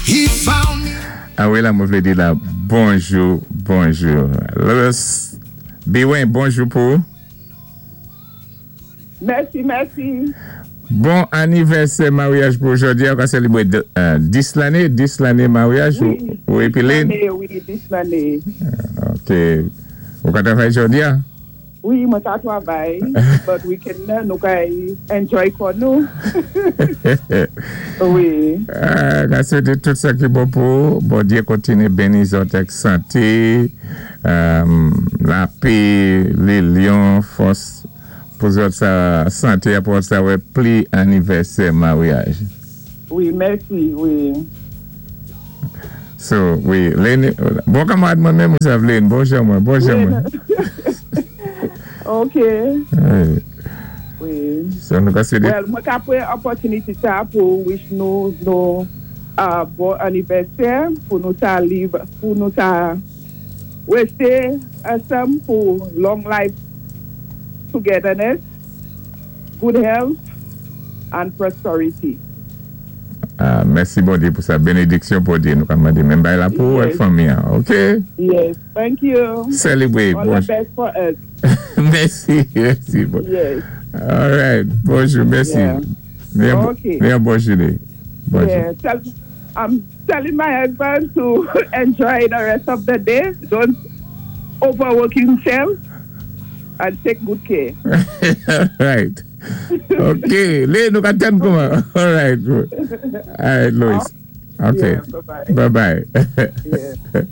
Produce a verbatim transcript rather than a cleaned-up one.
He found me. A wi, la, mwen vlé di la, bonjou, bonjou. Louis, Biwen, bonjou pou. Mèsi, mèsi. Bon anivèsè maryaj pou jòdi a, ou ka selebré dis lanné, dis lanné maryaj Wi, ou épi dis Lynn? Lanné, wi, dis lanné. Ok. Ou ka travay jòdi a? Wi, mwen ka travay, but we can, nou ka enjoy kò nou. Wi. Ah, ka swété tout sa ki bon pou, Bondyé kontiné béni zòt ak santé, lapè, linyon, fòs, pou zòt sa santé pou sa wè pli anivèsè maryaj. Wi, mèsi, wi. So, wi, Lynn, bon kanmarad mwen menm ou sav Lynn, bonjou mwen, bonjou mwen. Ok. Wi. Wi. So, nou ka swété. Well, mwen ka pran opòtinité sa pou wish nou nou uh, bon anivèsè, pou nou ta live, pou nou ta wésté ansanm pou long life togetherness, good health, and prosperity. Ah, mèsi Bondyé pou sa bénédiksyon Bondyé nou ka mandé menm bay la pou Yes. ak fanmi an, ok? Yes, thank you. Celebrate. All Bon. the best for us. Mèsi, mèsi. Bon. Yes. All right, bonjou, mèsi. Yeah. Byen, Ok. byen bon jouné. Bonjou. Yeah, tell, I'm telling my husband to enjoy the rest of the day. Don't overwork himself and take good care. All right. Ok, Lynn, nou ka tann kouman. All right. All right, Louis. Ok. Yeah, bye-bye. Bye-bye. Yeah.